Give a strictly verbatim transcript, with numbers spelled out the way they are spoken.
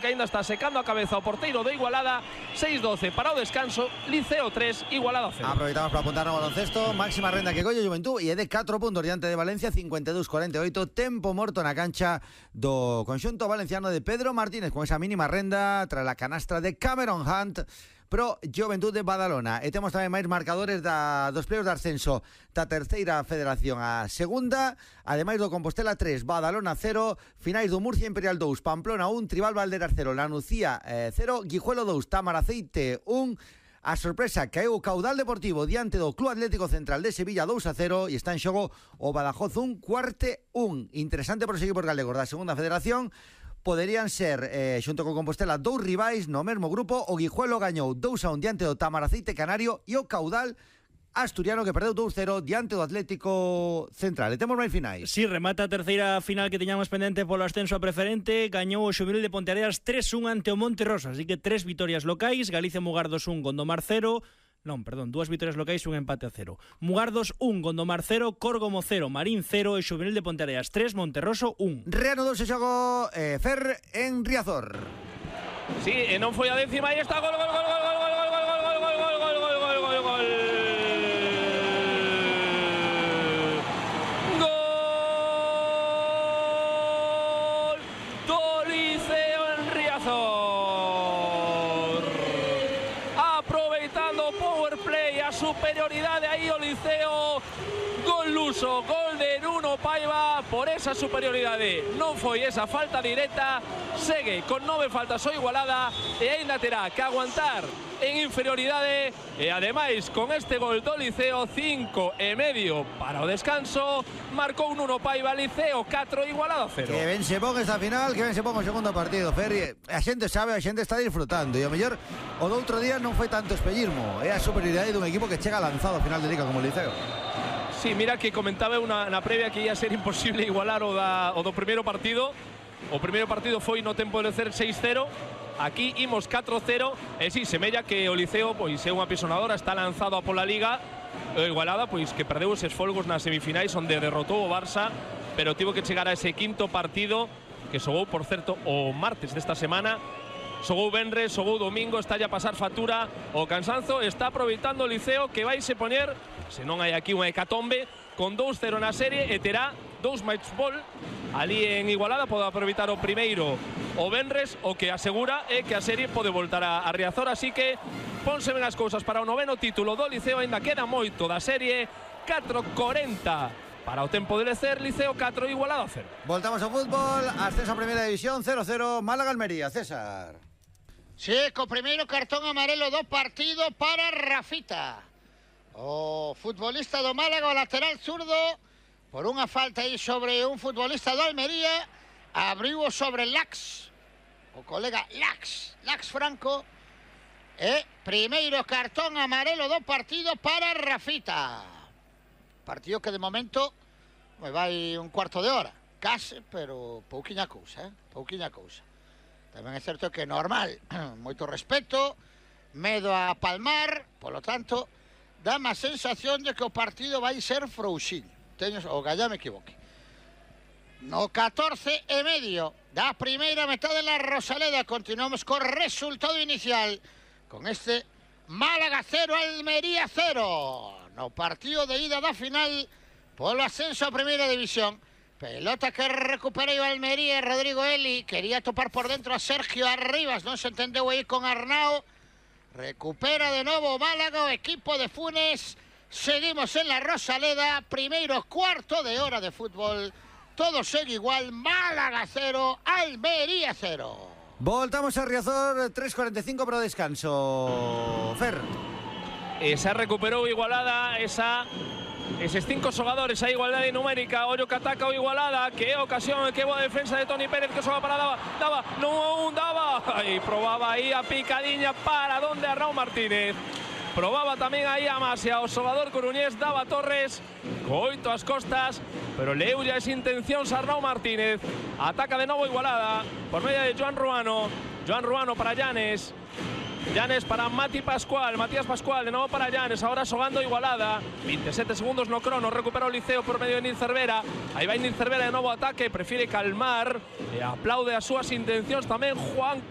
que ainda está secando a cabeza o porteiro do Igualada. seis doce para o descanso, Liceo tres, Igualada cero. Aproveitamos para apuntar no baloncesto. Máxima renda que colle Juventud e é de catro puntos diante de Valencia, cincuenta e dous cuarenta e oito. Tempo morto na cancha do conxunto valenciano de Pedro Martínez con esa mínima renda tras la canastra de Cameron Hunt pro Juventud de Badalona. E temos tamén máis marcadores da, dos pleios de ascenso da terceira federación a segunda, ademais do Compostela tres, Badalona cero, finais do Murcia Imperial dous, Pamplona un, Tribal Valderas cero, La Nucía eh, cero, Guijuelo dous, Tamaraceite un. A sorpresa caeu o Caudal Deportivo diante do Club Atlético Central de Sevilla dous a cero e está en xogo o Badajoz un, Cuarte un. Interesante para os equipos galegos da segunda federación. Poderían ser, eh, xunto con Compostela, dous rivais no mesmo grupo. O Guijuelo gañou dous a un diante do Tamaraceite Canario e o Caudal asturiano que perdeu dous cero diante do Atlético Central. E temos máis finais. Si, sí, remata a terceira final que teñamos pendente polo ascenso a preferente. Gañou o Xuvenil de Ponteareas tres un ante o Monterrosa, así que tres vitorias locais. Galicia Mugardos un, Gondomar cero. Non, perdón, dúas vitorias locais, un empate a cero. Mugardos un, Gondomar cero, Córgomo cero, Marín cero e Xuvenil de Ponteareas tres, Monterroso un. Reanudou ese xogo eh, Fer en Riazor. Sí, e non foi a décima e está gol, gol, gol, gol, gol, gol, gol, gol, gol, gol, gol, gol, gol, gol, gol, gol. Gol do Liceo en Riazor. Aproveitando o power play, a superioridade aí o Liceo. Gol luso, gol de Nuno Paiva por esa superioridade. Non foi esa falta directa. Segue con nove faltas o Igualada e aínda terá que aguantar en inferioridade. E ademais con este gol do Liceo, cinco e medio para o descanso. Marcou Nuno Paiva, Liceo catro, Igualada cero. Que ben se pon esta final, que ben se pon o segundo partido, Ferri. A xente sabe, a xente está disfrutando. E o mellor, o do outro día non foi tanto espellismo. É a superioridade dun equipo que chega lanzado a final de liga como o Liceo. Sí, mira que comentaba una, na previa que ia ser imposible igualar o, da, o do primeiro partido. O primeiro partido foi no tempo de lecer seis cero. Aquí imos catro cero. E si, semella que o Liceo pois é unha pisonadora, está lanzado a pola liga. O Igualada pois que perdeu eses folgos nas semifinais onde derrotou o Barça, pero tivo que chegar a ese quinto partido que xogou, por certo, o martes desta semana. Xogou venres, xogou domingo, está a pasar factura o cansanzo. Está aproveitando o Liceo que vai se poñer, se non hai aquí unha hecatombe, con dous cero na serie e terá dous match ball ali en Igualada. Pode aproveitar o primeiro o venres, o que asegura é que a serie pode voltar a, a Riazor, así que ponse ben as cousas para o noveno título do Liceo. Ainda queda moito da serie, catro corenta para o tempo de lecer. Liceo catro, Igualada cero. Voltamos ao fútbol, ascenso a primeira división, cero cero, Málaga-Almería. César. Sí, co primeiro cartón amarelo do partido para Rafita, o futbolista do Málaga, o lateral zurdo, por unha falta aí sobre un futbolista do Almería. Abriu sobre Lax, o colega Lax, Lax Franco. E primeiro cartón amarelo do partido para Rafita. Partido que de momento vai un cuarto de hora, case, pero pouquiña cousa, eh? pouquiña cousa. Tamén é certo que é normal, moito respeto, medo a palmar, polo tanto, dá má sensación de que o partido vai ser frouxiño. Teño, o gallá me equivoque. No catorce e medio da primeira metade da Rosaleda, continuamos co resultado inicial, con este Málaga cero, Almería cero, no partido de ida da final polo ascenso a primeira división. Pelota que recuperei o Almería, Rodrigo Eli, quería topar por dentro a Sergio Arribas, non se entendeu aí con Arnao. Recupera de novo o Málaga, o equipo de Funes. Seguimos en la Rosaleda, primeiro cuarto de hora de fútbol. Todo segue igual, Málaga cero, Almería cero. Voltamos a Riazor, tres cuarenta e cinco para o descanso. Fer. Esa recuperou Igualada, esa... Eses cinco xogadores a igualdade numérica. Ollo que ataca o Igualada, que é ocasión, que boa defensa de Toni Pérez, que xoga para daba, daba, non daba, e probaba aí a picadiña para donde Arnau Martínez. Probaba tamén aí a Masia, o xogador coruñés Dava Torres, co oito as costas, pero leulle as intencións a Arnau Martínez. Ataca de novo Igualada, por medio de Joan Ruano, Joan Ruano para Llanes, Llanes para Mati Pascual, Matías Pascual, de novo para Llanes, ahora xogando Igualada, veintisiete segundos no crono, recupera o Liceo por medio de Nil Cervera, aí vai Nil Cervera de novo ataque, prefire calmar e aplaude as súas intencións tamén Juan